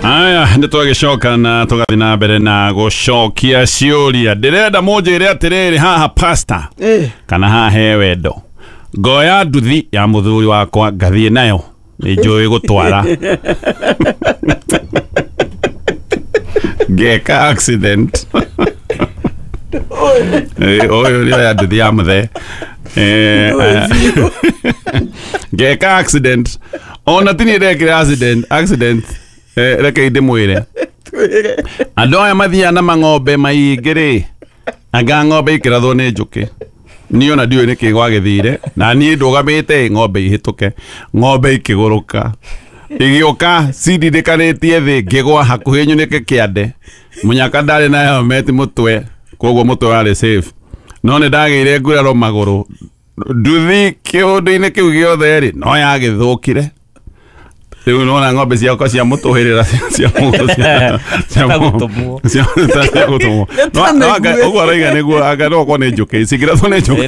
Aya, nĩ twagĩcoka na tũgathiĩ na mbere na gũcokia ciũria. Ndĩrenda mũnjĩre atĩrĩrĩ, haha pastor kana haha he wendo, ngoya nduthi ya mũthuri wakwa ngathiĩ nayo, nĩ njũĩ gũtwara, ngeka accident. Ũyũ nĩ oya nduthi ya mũthee. Ngeka accident, ona ti niĩ ndekire accident. Reke ndĩmwĩre, andũ aya mathiaga na mang'ombe maingĩ rĩ, anga ng'ombe ikĩrathwo nĩ njũkĩ. Niĩ ona ndiũĩ nĩkĩ gwagĩthire, na niĩ ndũgamĩte ng'ombe ihĩtũke, ng'ombe ikĩgũrũka, igĩũka cindindĩkanĩtie thĩ, ngĩgwa hakuhĩ nyunĩke kĩande. Mũnyaka ndarĩ na helmet mũtwe, koguo mũtwe warĩ safe, no nĩ ndagĩire nguraro magũrũ. Nduthi kĩũndũ-inĩ kĩu gĩothe rĩ, no yagĩthũkire. Rĩu nona ng'ombe ciakwa cia mũtũhĩrĩra cia gũtũmwo. Cia gũtũmwo. Ũguo arauga nĩguo, anga no okorwo nĩ njũkĩ cingĩrathwo nĩ njũkĩ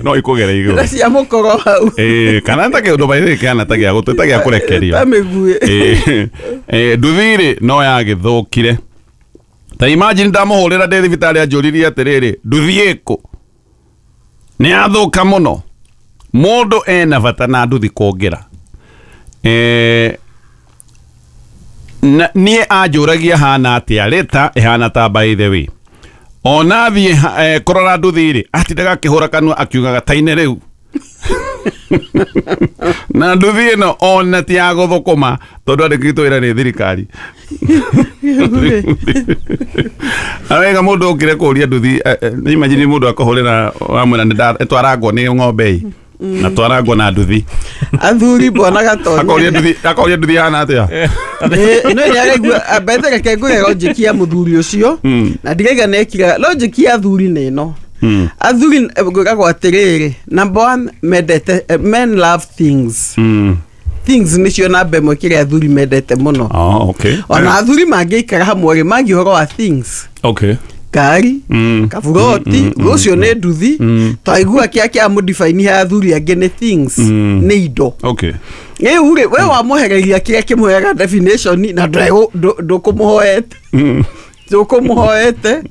no ikũgere igũrũ na cia mũkoro hau. Kana ta kĩũndũ baithĩ kĩhana ta gĩa gũtũ, ta gĩa kũrekerio ta mĩguĩ. Nduthi rĩ, no yagĩthũkire. Ta imagine ndamũhũrĩra ndĩ thibitarĩ, anjũririe atĩrĩrĩ, nduthi ĩkũ, nĩ yathũka mũno. Mũndũ ena bata na nduthi kũngĩra. Na niĩ anjũragia hana atĩa, rĩta ĩhana ta, by the way, ona thiĩ kũrora nduthi rĩ, atindaga akĩhũra kanua akiugaga taine rĩu na nduthi ĩno ona ti ya gũthũkũma, tondũ andĩkĩtwo wĩra nĩ thirikari. Awega mũndũ okire kũria nduthi. Imagine mũndũ akũhũrĩra wamwĩra nĩ twarangwo nĩ ng'ombe ĩ, na twarangwo na nduthi. Athuri, bwana Gatonya. Akoria nduthi, akoria nduthi hana atĩa. No nĩ araigua mbethe. Reke ngũre logic ya mũthuri ũcio, na ndiraiga nekira logic ya athuri nĩ ĩno. Athuri, ngwĩragwo atĩrĩrĩ, number one, mendete, men love things. Things nĩcio namba ĩmwe kĩrĩa athuri mendete mũno. Oh, okay. Ona athuri mangĩikara hamwe rĩ, mangi ũhoro wa things, ngari, kaburoti, rũcio nĩ nduthi. Twaigua kĩa kĩa mũdibaini ha athuri angĩ nĩ things, nĩ indo. Rĩu rĩ, we wamũhereria kĩrĩa kĩmũheaga definition na ndũkũmũhoete, ndũkũmũhoete,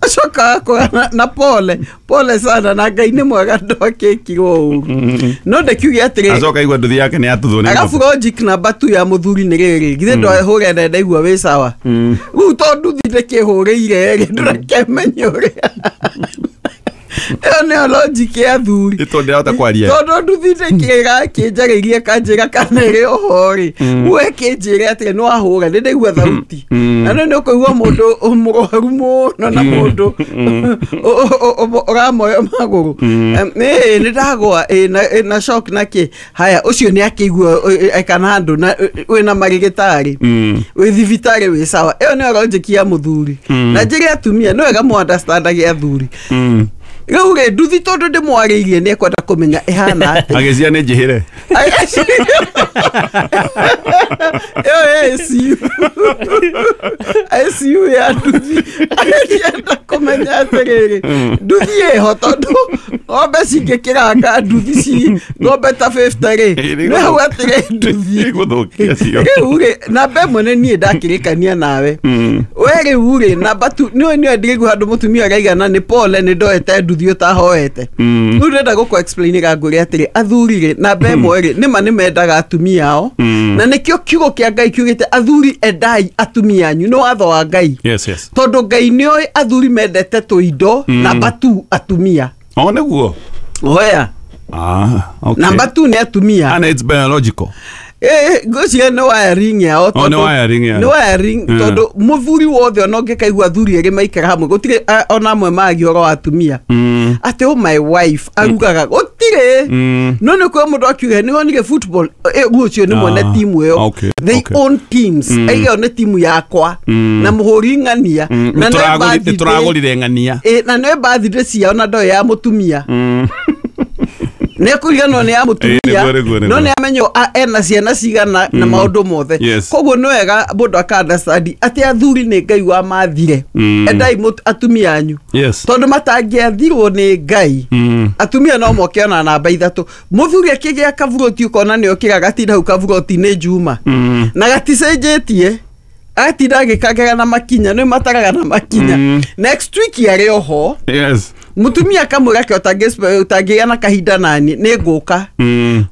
acoka akora na pole pole sana, na Ngai nĩ mwega ndwakĩkirwo ũru. No ndĩkiuge atĩrĩ, Acoka igua nduthi yake nĩ yatuthwo nĩ arabu ng'ombe. Logic namba tu ya mũthuri nĩ rĩrĩ, githĩ ndwahũre na ndaigua wĩ sawa rĩu, to nduthi ndĩkĩhũrĩire rĩ, ndũrakemenye ũrĩa ĩyo nĩyo logic ya athuri. Ĩ tondũ ndĩrahota kwaria. Tondũ nduthi ndĩkĩrakĩnjarĩirie kanjĩra kana ĩrĩ oho rĩ, we kĩnjĩre atĩrĩ nĩ wahũra, nĩ ndaigua thauti. Na nĩ ũkũigua mũndũ mũrwaru mũno na mũndũ ũramoyo magũrũ. Ĩ nĩ ndagwa ĩ na shock na kĩ haya, ũcio nĩ akĩigua kana handũ na wĩna marĩgĩtarĩ, wĩ thibitarĩ, wĩ sawa. Ĩyo nĩyo logic ya mũthuri. Na njĩre atumia nĩ wega mũ understandage athuri. Rĩu rĩ, nduthi tondũ ndĩmwarĩirie, nĩ ekwenda kũmenya ĩhana atĩa. Agĩcia nĩ njĩhĩre. Ĩyo ICU, ICU ya nduthi, agĩenda kũmenya atĩrĩrĩ, nduthi ĩho, tondũ ng'ombe cingĩkĩranga nduthi ci ng'ombe ta 50 rĩ, nĩ hau atĩrĩ nduthi Gũthũkia cio. Rĩu rĩ, namba ĩmwe nĩ niĩ ndakĩrĩkania nawe we. Rĩu rĩ, namba tu nĩ nĩ ndĩraigua handũ mũtumia araigana nĩ pole, nĩ ndoete nduthi ũtahoete. Rĩu ndĩrenda gũkũ explainĩra, ngwĩre atĩrĩ, athuri rĩ, namba ĩmwe rĩ, nĩma nĩ mendaga atumia ao, na nĩkĩo kiugo kĩa Ngai kiugĩte athuri endai atumia anyu, nĩ watho wa Ngai. Tondũ Ngai nĩoĩ athuri mendete tũindo, namba tu atumia. Oh, nĩguo. Oya. Ah, okay. Namba tu nĩ atumia. And it's biological. Ngwĩciria nĩ wiring yao. Oh, nĩ wiring yao. Nĩ wiring, tondũ mũthuri wothe, ona ũngĩkaigua athuri erĩ maikara hamwe, gũtirĩ ona amwe maragia ũhoro wa atumia atĩ, "Oh, my wife arugaga," gũtirĩ. No nĩ kwĩ mũndũ akiuga nĩ wonire football, rĩu ũcio nĩ mwene timu ĩyo. They own teams. Ĩyo nĩ timu yakwa na mũhũri ng'ania na nĩ birthday. Nĩ tũragũrire ng'ania. Na nĩ birthday ciao na ndoĩ ya mũtumia, nĩ ekũriganwo nĩ ya mũtumia. Nĩguo, nĩguo. No nĩ amenyo ena ciana cigana na maũndũ mothe. Koguo nĩ wega mũndũ aka understand atĩ athuri nĩ Ngai wamathire, endai atumia anyu, tondũ matangĩathirwo nĩ Ngai, atumia no moke ona namba ithatũ. Mũthuri akĩgĩa kaburoti, ũkona nĩ okĩra gatinda hau kaburoti nĩ njuma na gaticenjetie. Atinda agĩkangega na makinya nĩ mataraga na makinya. Next week arĩ oho. Yes. Mutumia kamwĩra ke ũtangĩgĩa na kahinda nani nĩ ngũka.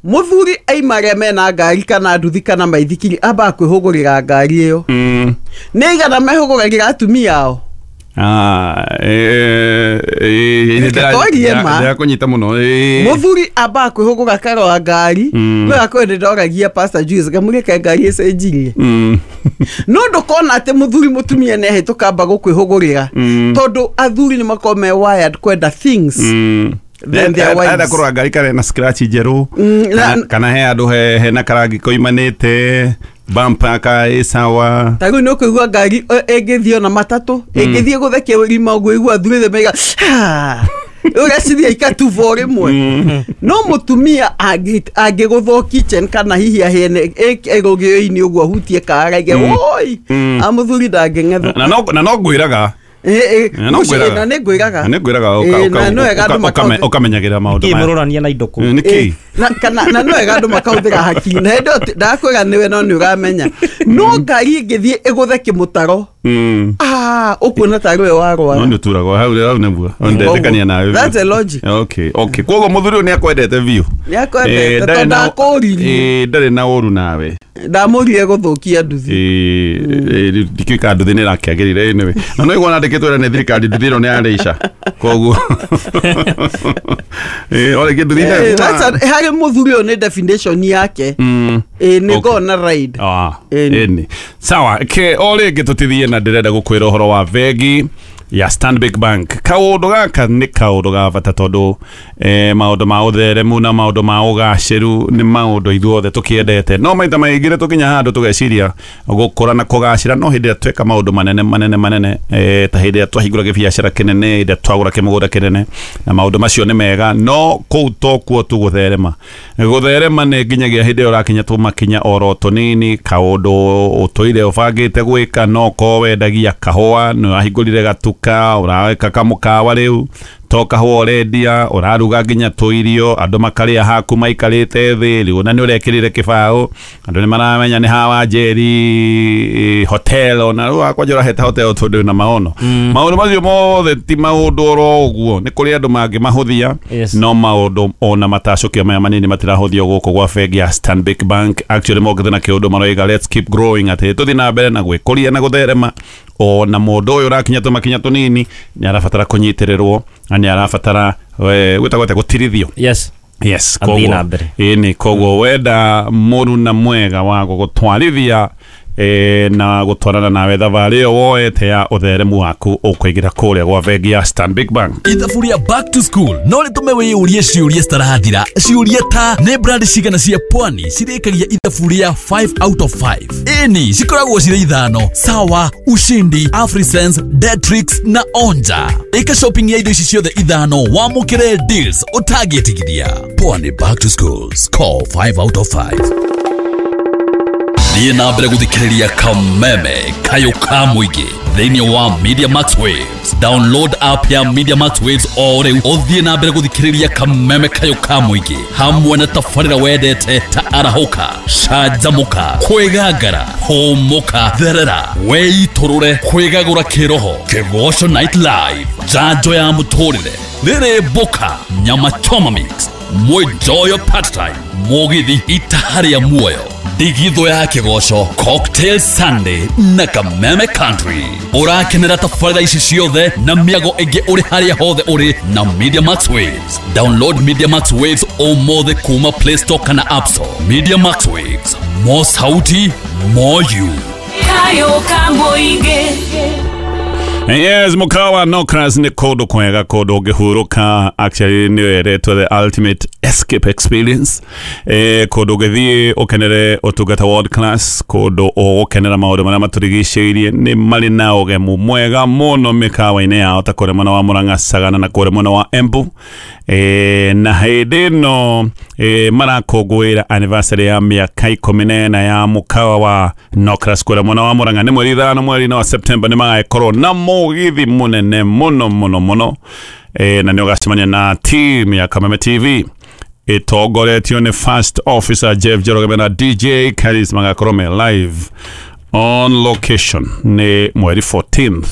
Mũthuri aima arĩa mena ngari kana nduthi kana maithikiri ambaga kwĩhũgũrĩra ngari ĩyo. Nĩ igana mehũgũragĩra atumia ao. Ndĩrakũnyita mũno. Mũthuri ambaga kwĩhũgũra karora ngari no akorwo nĩndoragia Pastor Juice ngamũrĩke ngari ĩcenjirie. No ndũkona atĩ mũthuri mũtumia nĩahĩtũka amba gũkwĩhũgũrĩra tondũ athuri nĩ makoragwo me wired kwenda things than their wives. Enda kũrora ngari kana na scratch njerũ kana he handũ hena karangi koimanĩte bumper ka ĩ sawa. Ta rĩu nĩ ũkũigua ngari ĩngĩthiĩ ona matatũ ĩngĩthiĩ gũthekia rima ũguo igua athuri othe maiga ũreciria ikatuba o rĩmwe. No mũtumia angĩgũthwo kitchen kana hihi ahĩene rũgĩo-inĩ ũguo ahutie kara aige woi a mũthuri ndangĩng'ethũka. Na no ngwĩraga. Na nĩ ngwĩraga. Na nĩ ngwĩraga ũkamenyagĩra maũndũ maya. Kĩmũrorania na indo kũu. Nĩkĩ? Na no wega andũ makahũthĩra hakiri. Na hĩndĩ ĩyo ndakwĩra nĩwe no nĩ ũramenya. No ngari ĩngĩthiĩ ĩgũthe kĩmũtaro. Ũkuona ta rĩwe warwara. No nĩ ũturagwo hau hau nĩguo. Ndetĩkania nawe. That's a logic. Okay, okay. Koguo mũthuri ũyũ nĩ akwendete biũ. Nĩ akwendete tondũ ndakũririe. Ndarĩ na ũru nawe. Ndamũrire gũthũkia nduthi. Ndikĩũĩ kana nduthi nĩ ĩrakĩagĩrĩire anyway. Na no igua nandĩkĩtwo nĩ thirikari nduthi ĩno nĩ yarĩica. Koguo o rĩngĩ nduthi harĩ mũthuri ũyũ nĩ definition yake. Nĩ gona ride. Ĩni. Sawa, ke o rĩngĩ tũtithiĩ na ndĩrenda gũkwĩra ũhoro wa bengi ya Stanbic Bank. Kaũndũ gaka nĩ kaũndũ ga bata tondũ maũndũ ma ũtheremu na maũndũ ma ũgacĩru nĩ maũndũ ithuothe tũkĩendete. No maita maingĩ tũkinya handũ tũgeciria gũkũra na kũgacĩra no hĩndĩ ĩrĩa tweka maũndũ manene manene manene ta hĩndĩ ĩrĩa twahingũra gĩbiacara kĩnene, hĩndĩ ĩrĩa twagũra kĩmũgũnda kĩnene na maũndũ macio nĩ mega no kũu tokuo tu gũtherema. Gũtherema nĩ nginyagia hĩndĩ ĩrĩa ũrakinya tũmakinya oro tũnini kaũndũ ũtũire ũbangĩte gwĩka no ko wendagia kahũa nĩ wahingũrire gatuka ũreka kamũkawa rĩu to kahũa ũrendia ũraruga nginya tũirio andũ makarĩa haku maikarĩte thĩ rĩu na nĩ ũrekĩrire kĩbaũ andũ nĩ maramenya nĩ hawa Njeri hotel ona rĩu akwanja ũraheta hotel tondũ na maono. Maũndũ macio mothe ti maũndũ oro ũguo nĩ kũrĩ andũ mangĩmahũthia. No maũndũ ona matacũkio maya manini matirahũthio gũkũ gwa bengi ya Stanbic Bank. Actually mokĩte na kĩũndũ maroiga let's keep growing atĩ tũthiĩ na mbere na gwĩkũria na gũtherema. Ona mũndũ ũyũ ũrakinya tũmakinya tũnini nĩ arabatara kũnyitĩrĩrwo na nĩ arabatara gwĩtagwo atĩa gũtirithio. Yes. Yes, koguo ĩni koguo wenda mũruna mwega wa gũgũtwarithia na gũtwarana nawe thabarĩ ĩyo woete ya ũtheremu waku ũkũigĩra kũrĩa gwa bengi ya Stanbic Bank. Ithabu rĩa back to school no rĩtũme wĩyũrie ciũria citarathira ciũria ta nĩ brand cigana cia pwani cirĩkagia ithabu rĩa 5 out of 5. Ĩni cikoragwo cirĩ ithano: Sawa, Ushindi, Afrisense, Detrix na Onja. Ĩka shopping ya indo ici ciothe ithano wamũkĩre deals ũtangĩtigithia. Pwani back to school, score 5 out of 5. Thiĩ na mbere gũthikĩrĩria Kameme Kayũ ka Mũingĩ thĩinĩ wa Media Max Waves. Download app ya Media Max Waves o rĩu ũthiĩ na mbere gũthikĩrĩria Kameme Kayũ ka Mũingĩ hamwe na tabarĩra wendete ta Arahũka, Canjamũka, Kwĩgangara, Hũmũka, Therera, Wĩitũrũre, Kwĩgagũra Kĩroho, Kĩgoco Night Live, Njanjo ya Mũtũrĩre, Rĩrĩ Mboka, Nyama Choma Mix, Mwĩnjoyo Part Time, Mũgithi Itaha rĩa Muoyo, Ndigithũ ya Kĩgoco, Cocktail Sunday na Kameme Country. Ũrakenera tabarĩra ici ciothe na mĩago ĩngĩ ũrĩ harĩa hothe ũrĩ na Media Max Waves. Download Media Max Waves ũmũthĩ kuma Play Store kana App Store. Media Max Waves, more sauti, more you. Kayũ ka Mũingĩ. Yes, mukawa Nokras nĩ kũndũ kwega kũndũ ũngĩhurũka. Actually nĩ ĩretwo the ultimate escape experience. Kũndũ ũngĩthiĩ ũkenere ũtungata world class, kũndũ ũgũkenera maũndũ marĩa matũrigicĩirie. Nĩ marĩ na ũgemu mwega mũno mĩkawa-inĩ yao ta kũrĩa mwena wa Murang'a, Sagana na kũrĩa mwena wa Embu. Na hĩndĩ ĩno marakũngũĩra anniversary ya mĩaka 14 ya mũkawa wa Nokras kũrĩa mwena wa Murang'a. Nĩ mweri 5 mweri-inĩ wa September nĩ magakorwo na mũgithi mũnene mũno mũno mũno na nĩ ũgacemania na team ya Kameme TV ĩtongoretio nĩ First Officer Jeff Njoroge na DJ Karis magakorwo me live. On location nĩ mweri 14th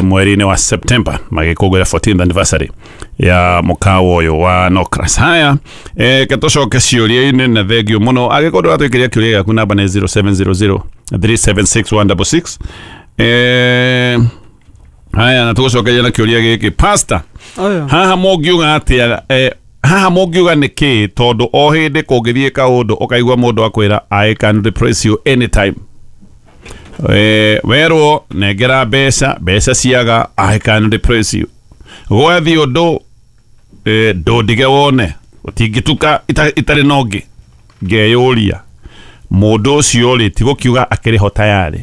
mweri-inĩ wa September magĩkũngũĩra 14th anniversary ya mũkawa ũyũ wa Nocras. Haya, ke tũcoke ciũria-inĩ na thengio mũno. Angĩkorwo ndũratwĩkĩria kĩũria gĩaku, namba nĩ 0700 376 166. Haya, na tũgũcokeria na kĩũria gĩkĩ, pastor. Oyo. Haha mũngiuga atĩa, haha mũngiuga nĩ kĩ? Tondũ o hĩndĩ kũngĩthiĩ kaũndũ ũkaigua mũndũ akwĩra, "I can replace you anytime." Werwo nengera mbeca, mbeca ciaga, "I can replace you." Gwathiĩ ũndũ, ndũndige wone ũtingĩtuka itarĩ na ũngĩ. Ngeyũria, mũndũ ũcio rĩ, ti gũkiuga akĩrĩ ho tayarĩ?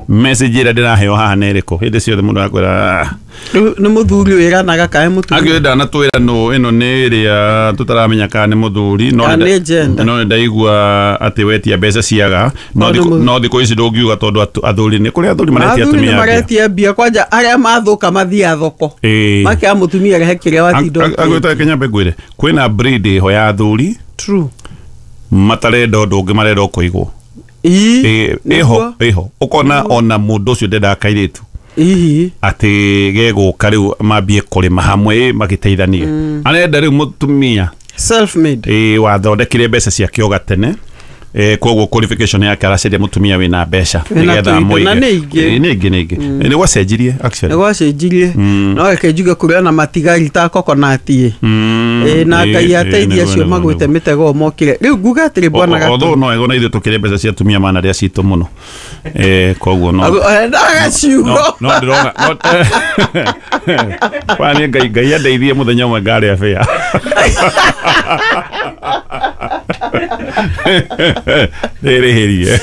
Message ĩrĩa ndĩraheo haha nĩ ĩrĩkũ? Hĩndĩ ciothe mũndũ akwĩra, "Ah." Rĩu nĩ mũthuri wĩranaga kana nĩ mũtumia? Angĩ ndanatwĩra nũ ĩno nĩ ĩrĩa tũtaramenya kana nĩ mũthuri, no Kana nĩ gender. No nĩ ndaigua atĩ wetia mbeca ciaga, no No nĩ no thikũ ici ndũngiuga tondũ athuri nĩ kũrĩ athuri maretia athuri nĩ atumia mbia. maretia mbia kwanja arĩa mathũka mathiaga thoko Ĩĩ. makea mũtumia rehe kĩrĩa watinda Agwĩta Kenya ngwĩre kwĩna breed ĩho ya athuri True. matarenda ũndũ ũngĩ, marenda o kũigwo. Ii, Ĩĩ, ĩho nĩguo. ĩho ũkona ona mũndũ ũcio ndendaga kairĩtu Ihi. atĩ gegũka rĩu mambie kũrĩma hamwe, magĩteithanie. Arenda rĩu mũtumia Self made. Ĩĩ, wathondekire mbeca ciake o gatene. Koguo qualification yake aracaria mũtumia wĩna mbeca Wĩna nĩgetha tũindo, amũige. na nĩ ingĩ. Ĩĩ, nĩ ingĩ, nĩ ingĩ. Nĩ gwacenjirie actually. Nĩ gwacenjirie, no reke njuge kũrĩ ona matigari ta kokonati. Ĩ, na Ngai ateithie acio magwĩte mĩtego mokire. Rĩu nguga atĩrĩ, bwana Although Gatũ. no ego na ithuĩ tũkĩrĩ mbeca cia atumia mana rĩa citũ mũno. Koguo no Endaga ciugo. No ndĩrona kwa niĩ Ngai andeithie mũthenya ũmwe ngarĩa bĩa rĩrĩhĩrie.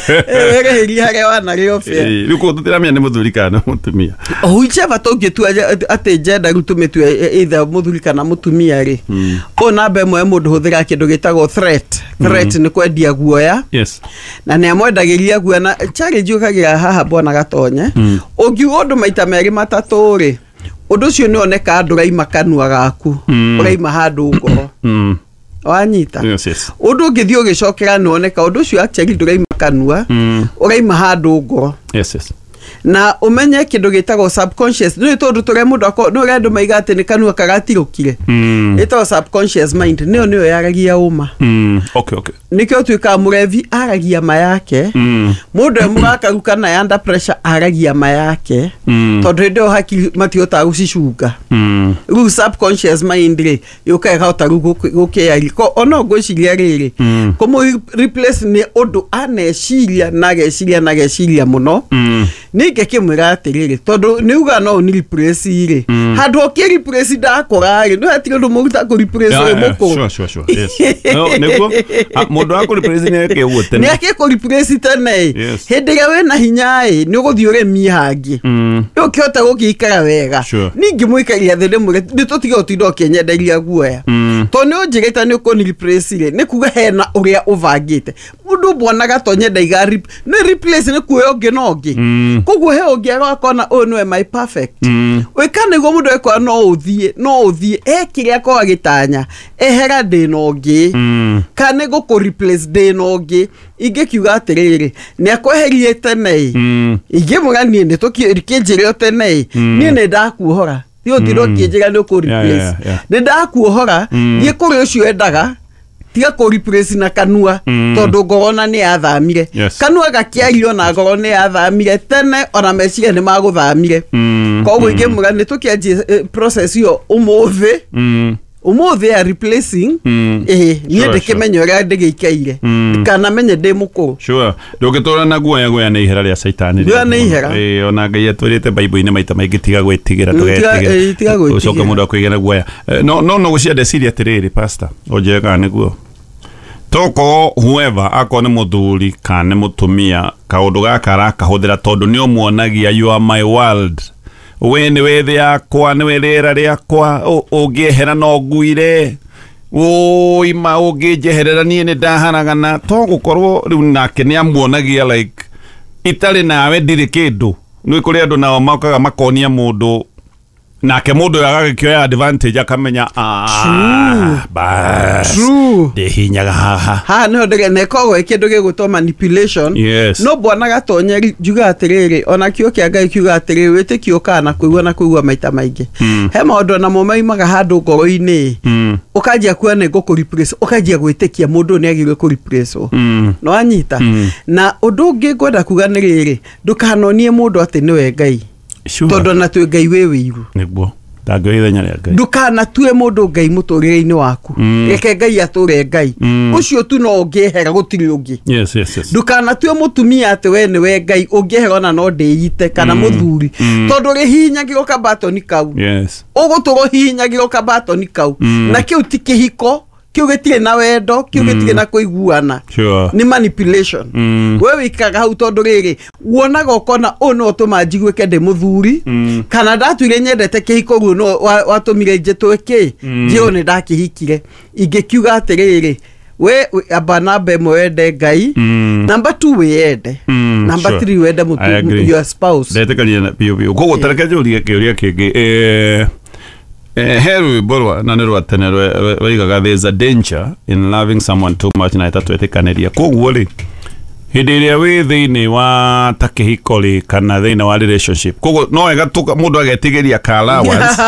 Wĩrĩhĩrie harĩa wanarĩo bĩa. Rĩu koguo tũtiramenya nĩ mũthuri kana nĩ mũtumia. Whichever tũngĩtua atĩ gender rĩu tũmĩtue either mũthuri kana mũtumia rĩ, ũyũ namba ĩmwe mũndũ hũthĩraga kĩndũ gĩtagwo threat. Threat nĩ kwendia guoya. Na nĩ amwendagĩria guoya na challenge yũkagĩra haha, bwana Gatonye. Ũngiuga ũndũ maita merĩ matatũ rĩ, ũndũ ũcio nĩ oneka ndũraima kanua gaku, ũraima handũ ngoro. Wanyita? Yes. Ũndũ ũngĩthiĩ ũgĩcokera nĩ woneka ũndũ ũcio actually ndũraima kanua, ũraima handũ ngoro. Yes. Na ũmenye kĩndũ gĩtagwo subconscious nĩ tondũ tũrĩa mũndũ nĩ ũrĩa andũ maiga atĩ nĩ kanua kagatirũkire, ĩtagwo subconscious mind, nĩyo yaragia ũma. Okay. Nĩkĩo tuĩkaga mũrevi aragia ma yake, mũndũ e mũrakaru kana ya under pressure aragia ma yake, tondũ hĩndĩ ĩyo hakiri matihotaga gũcicunga. Rĩu subconscious mind rĩ yũkaga ĩkahota rĩu gũkĩaria. Ko ona ngwĩciria rĩrĩ, kũmũ replace nĩ ũndũ aneciria na ageciria na ageciria mũno. Ningĩ kĩmwĩra atĩrĩrĩ, tondũ nĩ uga no ũni replace rĩ, handũ ũkĩ replace ndakũra rĩ, nĩ hatirĩ ũndũ mũruta kũ replace ũyũ mũkũrũ. Sure. Yes. No, nĩguo. Ah, mũndũ wa kũreplace nĩ eke ũguo tene. Nĩ akĩ replace tene. Hĩndĩ ĩrĩa wĩna hinya ĩ, nĩ ũgũthiĩ ũrĩmie hangĩ, rĩu ũkĩhota gũgĩikara wega. Ningĩ mũikaria thĩ ndĩmwĩre nĩ tũtige ũtinda ũkĩnyenderia guoya, tondũ nĩ ũnjĩrĩte nĩ ũkũni replace rĩ, nĩ kuga hena ũrĩa ũbangĩte. Mũndũ bwana Gatonye ndaiga nĩ replace nĩ kuoya ũngĩ na ũngĩ. Koguo he ũngĩ agakona ũyũ nĩwe my perfect. Wĩka nĩguo mũndũ ekora no ũthiĩ, no ũthiĩ e kĩrĩa akorwo agĩtanya ehera ndĩna ũngĩ, kana nĩ gũkũ replace ndĩna ũngĩ. Ingĩkiuga atĩrĩrĩ, nĩ akweherie tene ĩ, ingĩmwĩra niĩ nĩ tũkĩnjĩre o tene ĩ, niĩ nĩ ndakuohora, ti ũtinda ũkĩnjĩra nĩ ũkũ replace. Nĩ ndakuohora, thiĩ kũrĩ ũcio endaga, tiga kũ replace na kanua, tondũ ngoro ona nĩ yathamire. Kanua gakĩario na ngoro nĩ yathamire tene, ona meciria nĩ magũthamire. Koguo ingĩmwĩra nĩ tũkĩanjie process ĩyo ũmũthĩ, ũmũthĩ ya replacing. Ĩĩ, niĩ ndĩkĩmenya ũrĩa ndĩgĩikaire, kana menye ndĩ mũkũrũ. Sure, ndũngĩtũra na guoya. Guoya nĩ ihera rĩa caitani. Guoya nĩ ihera. Ĩĩ, ona Ngai atwĩrĩte Bible-inĩ maita maingĩ, tiga gwĩtigĩra. Ĩĩ, tiga gwĩtigĩra. Ũcoke mũndũ akwĩgĩra guoya. No gũcia ndeciria atĩrĩrĩ, pastor, ũnjĩre kana nĩguo tokorwo whoever akorwo nĩ mũthuri kana nĩ mũtumia, kaũndũ gaka arakahũthĩra tondũ nĩ ũmuonagia, "You are my world, we nĩwe thĩ yakwa, nĩwe rĩera rĩakwa, ũngĩehera no nguire ũima, ũngĩnjeherera niĩ nĩ ndaharagana." To gũkorwo rĩu nake nĩ amuonagia like itarĩ nawe ndirĩ kĩndũ? Nĩ kũrĩ andũ nao mokaga makonia mũndũ Nake mũndũ ũyũ agagĩkĩoya advantage akamenya bas ndĩhinyaga haha. Haha nĩho ndĩrĩ ĩkoragwo ĩ kĩndũ gĩgwĩtwo manipulation. Yes. No bwana Gatonye njuga atĩrĩrĩ, ona kĩo kĩa Ngai kiuga atĩrĩrĩ, wĩtĩkio ũkaga na kũigua na kũigua maita maingĩ. He maũndũ namo maimaga handũ ngoro-inĩ, ũkanjia kuona nĩ ngũkũ replace, ũkanjia gwĩtĩkia mũndũ ũyũ nĩ agĩrĩirwo kũ replace wo. Nĩ wanyita? Na ũndũ ũngĩ ngwenda kuga nĩ rĩrĩ, ndũkanonie mũndũ atĩ nĩwe Ngai. Sure. Tondũ ona twĩ Ngai wĩ wĩiru. Nĩguo ndangĩoya ithenya rĩa Ngai. Ndukanatue mũndũ Ngai mũtũrĩre-inĩ waku. Reke Ngai atũre Ngai. Ũcio tu no ũngĩehera, gũtirĩ ũngĩ. Yes, yes, yes. Ndukanatue mũtumia atĩ we nĩwe Ngai, ũngĩehera ona no ndĩite, kana mũthuri, tondũ rĩhihinyagĩrwo kabatoni kau. Yes. Ũgũtũra ũhihinyagĩrwo kabatoni kau. Na kĩu ti kĩhiko, kĩu gĩtirĩ na wendo, kĩu gĩtirĩ na kũiguana. Sure. Nĩ manipulation. We wĩikaraga hau tondũ rĩrĩ, wonaga ũkona ũyũ nĩwe ũtũma njiguĩke ndĩ mũthuri, kana ndatuire nyendete kĩhiko guo nĩwe watũmire njĩtwe kĩ njĩrwo nĩ ndakĩhikire. Ingĩkiuga atĩrĩrĩ, we amba namba ĩmwe wende Ngai, namba 2 wĩyende, namba Sure. 3 wende I agree. your spouse. Ndetĩkania na biũ biũ. Koguo tareke njũrie kĩũria kĩngĩ. He rwĩmbo rwa na nĩ rwa tene rwaigaga there's a danger in loving someone too much, na ĩtatwĩtĩkanĩria. Koguo rĩ, hĩndĩ ĩrĩa wĩ thĩinĩ wa ta kĩhiko rĩ, kana thĩinĩ wa relationship, koguo no wega mũndũ agetigĩria ka allowance.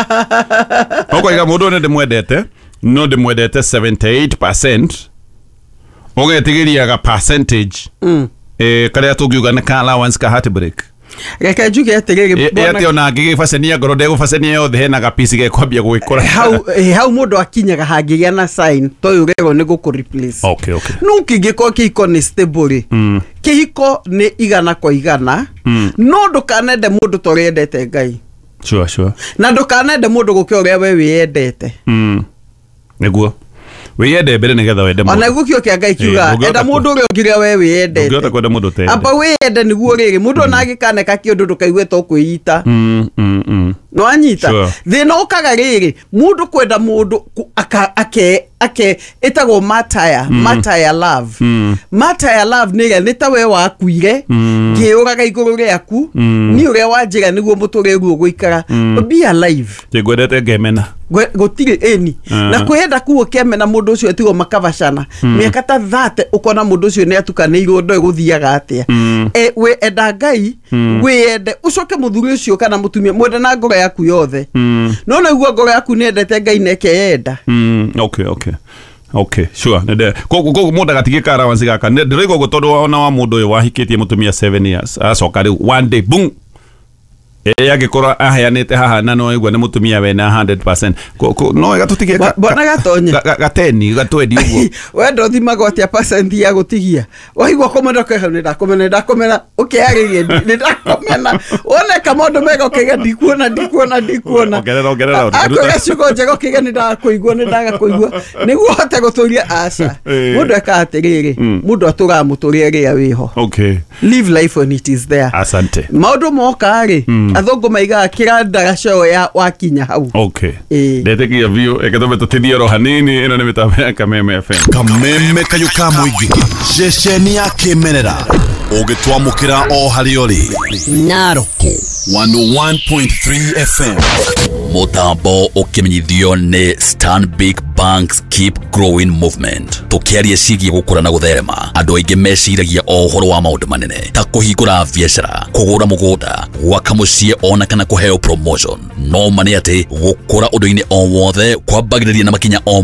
Ũkoiga mũndũ ũyũ nĩ ndĩmwendete, no ndĩmwendete 78%, ũgetigĩria ga percentage karĩa tũngiuga nĩ ka allowance ka heartbreak. Reke njuge atĩrĩrĩ, bwana- Ĩ atĩ ona angĩgĩbacania ngoro ndegũbacania yothe, hena gapici gekwambia gwĩkũra. Hau hau mũndũ akinyaga hangĩgĩa na sign ta ũyũ ũrerwo nĩ gũkũ replace. Okay, okay. No kĩngĩkorwo kĩhiko nĩ stable rĩ, kĩhiko nĩ 100 kwa 100, no ndũkanende mũndũ ta ũrĩa endete Ngai. Sure, sure. Na ndũkanende mũndũ gũkĩra ũrĩa we wĩyendete. Nĩguo wĩyende mbere nĩgetha wende Ona mũndũ. guo kĩo kĩa Ngai kiuga Ndũngĩhota enda mũndũ ũrĩa ũngĩ ũrĩa we wĩyendete. Ndũngĩhota kwenda mũndũ ũteyendete. Amba wĩyende nĩguo rĩrĩ, mũndũ ona angĩkaneka kĩũndũ ndũkaigue ta ũkwĩita. Nĩwanyita? Sure. Thĩna ũkaga rĩrĩ, mũndũ kwenda mũndũ ake ake ĩtagwo mataya, mataya love. Mataya love nĩ ĩrĩa nĩ ta we wakuire, ngĩũraga igũrũ rĩaku, niĩ ũrĩa wanjĩra nĩguo mũtũrĩre ũguo ũgũikara. Be alive. Ngwendete ngemena. Gũtirĩ ĩni. Na kwĩyenda kũu ũkĩmena mũndũ ũcio tigwo makabacana mĩaka ta 30, ũkona mũndũ ũcio nĩ atukanĩirwo ndoĩ gũthiaga atĩa. We enda Ngai, wĩyende, ũcoke mũthuri ũcio kana mũtumia mwende na ngoro yaku yothe. No naiguo ngoro yaku nĩ endete Ngai na ĩkeyenda. Okay, okay. Okay, sure. Nende koguo mũndũ agatigĩka ka allowance gaka. Ndĩraigua ũguo tondũ ona wa mũndũ ũyũ wahikĩtie mũtumia 7 years, acoka rĩu one day boom. Angĩkorwo aheanĩte haha na no aigua nĩ mũtumia wena 100%. No wega tũtigie Bwana Gatonye. gateni gatwendi ũguo. Wenda ũthimagwo atĩa percent ya gũtigia? Waigua kũmena ũkauga nĩ ndakomena, nĩ ndakomena, ũkĩarĩria nĩ ndakomena. Woneka maũndũ mega ũkauga ndikuona, ndikuona, ndikuona. Ongerera, ongerera, Akwĩra ciugo njega ũkauga nĩ ndakũigua, nĩ ndagakũigua. Nĩguo ũhote gũtũria aca. Mũndũ ekaga atĩrĩrĩ, mũndũ atũraga mũtũrĩre rĩrĩa wĩho. Okay. Live life when it is there. Asante. Maũndũ moka rĩ, athũngũ maigaga kĩrandara cio ya wakinya hau. Okay. Ĩĩ. Ndetĩkia biũ reke tũmbe tũtithie oro hanini. Ĩno nĩ mĩtambo ya Kameme FM. Kameme kayũ ka mũingĩ, ceceni ya kĩmerera ũgĩtwamũkĩra o harĩa ũrĩ. Naroko 101.3 FM. Mũtambo ũkĩmenyithio nĩ Stanbic Banks Keep Growing Movement. Tũkĩaria ciĩgiĩ gũkũra na gũtherema, andũ aingĩ meciragia o ũhoro wa maũndũ manene ta kũhingũra biacara, kũgũra mũgũnda, gwaka mũciĩ ona kana kũheo promotion. No ma nĩ atĩ gũkũra ũndũ-inĩ o wothe kwambagĩrĩria na makinya o